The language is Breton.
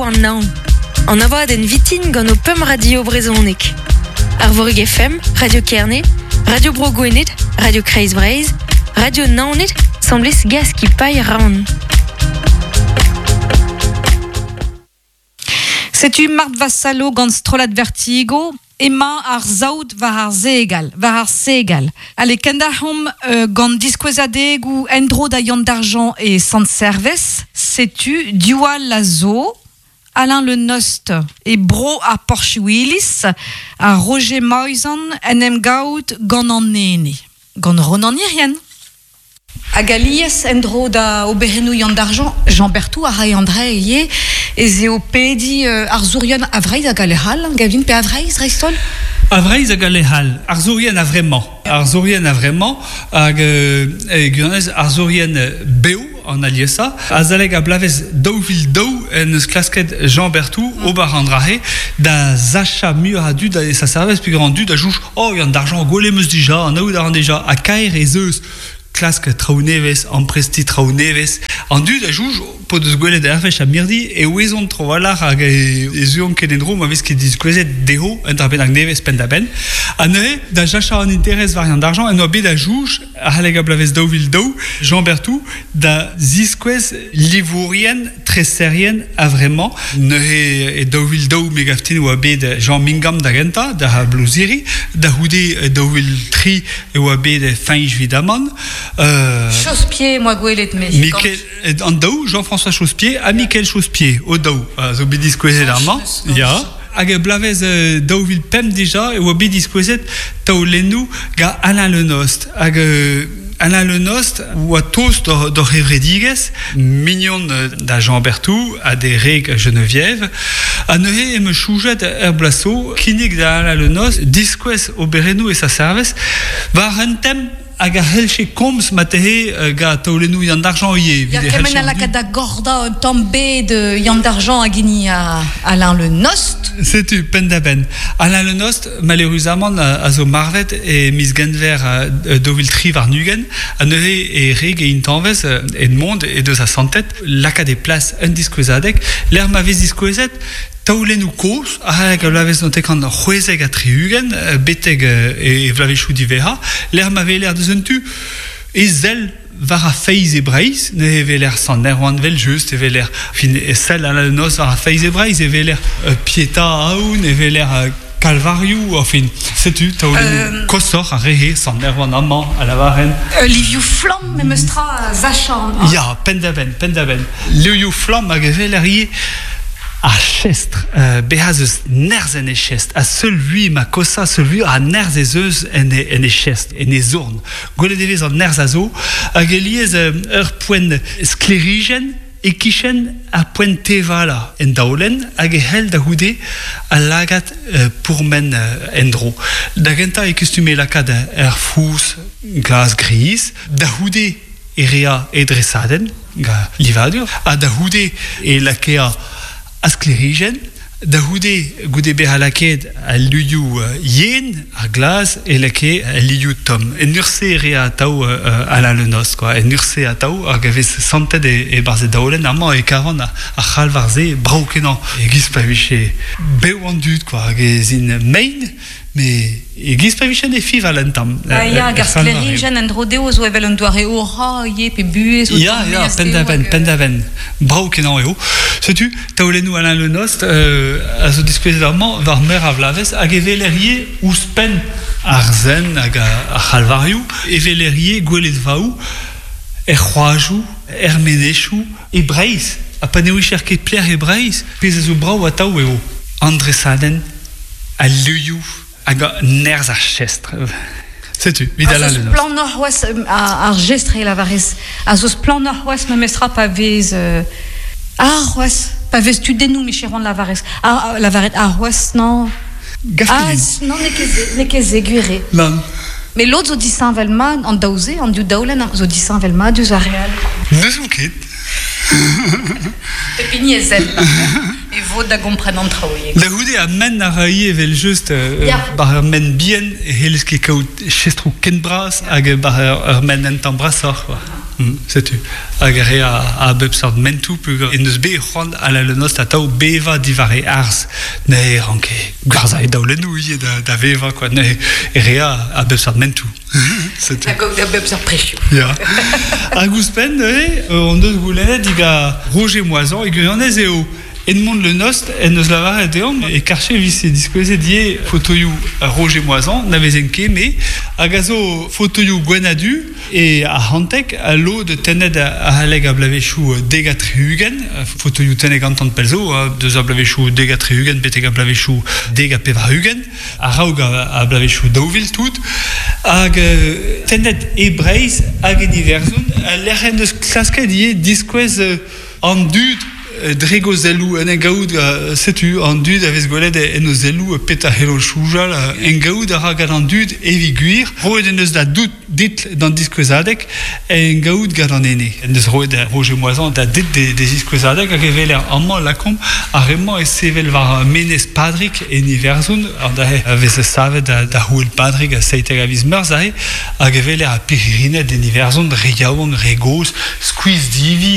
an hañv. An abadenn vitin gant ho pemp radio brezhonek. Arvorig FM, Radio Kerne, Radio Bro Gwened, Radio Kreiz Breizh, Radio Naoned, 'sambles ga skipailh Round. Setu Marthe Vassallo gant strollad Vertigo. Emañ ar saout war ar segal, war ar segal. Ale, kendalc'homp gant diskouezadegoù en-dro da Yann Dargent e Sant-Servez. Setu diwall a zo Alain Le Nost e bro ar Porchouiliz ha Roger Moisan en em gaout gant an ene, gant Ronan Hirrien. Hag alies, en-dro da oberennoù Yann Dargent, Jean Berthou a rae an dra ivez, ez eo pediñ arzourien a Vreizh hag a lec'h all, Gavin, pe a Vreizh dreist-holl? A Vreizh hag a lec'h all, arzourien a-vremañ. Arzourien a-vremañ hag e gwirionez arzourien bev an aliesañ. Azalek a bloavezh 2002 en deus klasket Jean Berthou ober an dra-se da sachañ muioc'h a dud da sa servij peogwir an dud a soñj oh Yann Dargent gwelet 'm eus dija, anaout a ran dija ha kaer ez eus klask traoù nevez, amprestiñ traoù nevez. An dud a soñj p'o deus gwelet ar wech ha mirdi e ouezont tro-walc'h hag e zeuont ket en-dro ma vez ket diskouezet dezho un dra bennak nevez penn-da-benn. Ha neuze, da jachañ an interest war an argent, en doa bet a soñj adalek ar bloavezh 2002, Jean Berthou da ziskouez livourien, treserien a-vremañ. Neuze e 2002 me gav din e oa bet Jean Mingam da gentañ, da Blouziri. Da c'houde e 2003 e oa bet Fañch Vidamant. Euh, Chausse-pied, moi gwelet me. Mikel, an daou, Jean-François Chausse-Pied ha Mikel Chausse-Pied, o daou, zo bet diskouezet amañ. Ya. Hag e bloavezh 2005 dija e oa bet diskouezet taolennoù gant Alain Le Nost. Hag Alain Le Nost oa tost d'hor c'hevredigezh, mignon da Jean Berthou ha d'e reg Geneviève. Ha neuze em eus soñjet er bloaz zo kinnig da Alain Le Nost diskouez oberennoù e sa servij war un tem hag a c'hellche komz marteze gant taolennoù Yann Dargent ivez. Ya, kement a lakaat da gordañ un tamm bed Yann Dargent hag hini Alain Le Nost. Setu, penn-da-benn. Alain Le Nost, maleüruzamant, a zo marvet e miz Genver 2023, ha neuze e reg e intañvez Edmond he deus asantet lakaat e plas un diskouezadeg lec'h ma vez diskouezet taolennoù kozh a-raok ar bloavezh 1976 betek e vloavezhioù diwezhañ, lec'h ma weler deus un tu e sell war ar feiz e Breizh, neuze e weler Sant Erwan evel-just, e weler fin e sell Alain Noz war ar feiz e Breizh, e weler Pieta Aoun, e weler Kalvarioù, enfin, setu taolennoù koshoc'h ar re-se, Sant Erwan amañ, a lavaren. Livioù flamm memes tra a sachañ. Ya, penn-da-benn, penn-da-benn. Livioù flamm hag e weler ivez ar chestr, bezañ ez eus nerzh en e chestr, ha seul vui ma kosa, seul vui a nerzh ez eus en e, en e chestr, en e zorn. Gwelet e vez an nerzh a zo, hag alies ur poent sklêrijenn e-kichen ar poent tevalañ en daolenn hag e c'hell da c'houde al lagad pourmen en-dro. Da gentañ e kustume lakaat er fouz glas-gris, da c'houde e rea e dresadenn gant livadur ha da c'houde e lakea ar sklêrijenn. Da c'houde, goude bezañ lakaet al luioù yen, ar glas, e lakae al luioù tomm. En ur-se e rea atav Alain Le Nost, quoi. En ur-se atav, hag e vez santet e-barzh e daolenn. Amañ e kavan ar c'halvar-se brav-kenañ. E-giz pa vije bev an dud, quoi. Hag ez int mein, met e-giz pa vije ne fival un tamm. Ah ya, hag ar sklêrijenn en-dro dezho zo evel un doare aura ivez, pe buhez o Ya, ya, penn-da-benn, penn-da-benn. Brav-kenañ eo. Setu taolennoù Alain Le Nost a zo diskouezet amañ war meur a vloavezh hag e weler ivez ouzhpenn ar zen hag ar c'halvarioù, e weler ivez gweledvaoù er c'hoajoù, er menezioù, e Breizh. Ha pa ne ouicher ket pelec'h e Breizh, pezh a zo brav atav eo an dresadenn, al luioù hag nerzh ar chestr. Setu, evit Alain Le Nost. Splannoc'h c'hoazh ar jestr e lavarez. A zo splannoc'h c'hoazh memestra pa vez ar c'hoazh pa vez tudennoù micheron lavarez. Ar lavaret ar c'hoazh non. Ah, non, n'eo ket n'eo ket se gwir eo. Nann. Met lod zo disheñvel mat, an daou-se, an div daolenn zo disheñvel mat diouzh ar re all. N'eus ket. Pep hini e sell e vod da gompren an traoù ivez. Da c'houde ha men a ra ivez evel-just war ur men bihan e c'hellez ket kaout chestroù ken bras hag war ur men un tamm brasoc'h. Setu. Hag a re a bep seurt mentoù peogwir en deus bet c'hoant Alain Le Nost atav bevañ diwar e arz. Neuze e ranke gwerzhañ e daolennoù ivez da, da vevañ quoi. Neuze e rea a bep seurt mentoù. Setu. Hag a bep seurt prezioù. Ya. Hag ouzhpenn neuze, on deus goulennet diga Roger Moisan e gwirionez eo Edmond Le Nost en deus lavaret deomp e karche vise diskouezet ivez fotoioù Roger Moisan, na vezen ket me, hag a zo fotoioù gwenn-ha-du e arc'hanteg, ha lod tennet a-haleg a bloavezhioù 70, fotoioù tennet gantan pell zo, deus ar bloavezhioù 70 betek ar bloavezhioù 90, a-raok ar bloavezhioù 2000 tout, hag tennet e Breizh hag en Iwerzhon, lec'h en deus klasket ivez diskouez An dud dre gozelloù en gaout setu an dud a vez gwelet en o zelloù petra c'hello soñjal en gaout a ra gant an dud evit gwir roet en deus da dout ditl d'an diskouezadeg en gaout gant an ene en deus roet Roger Moisan da dit d'e ziskouezadeg hag e weler amañ lakaomp ar re-mañ e sevel war Menez Padrig en Iwerzhon an aze a vez savet da c'houel Padrig a 17 a viz Meurzh aze hag e weler ar pirc'hirined en Iwerzhon re yaouank re gozh skuizh-divi.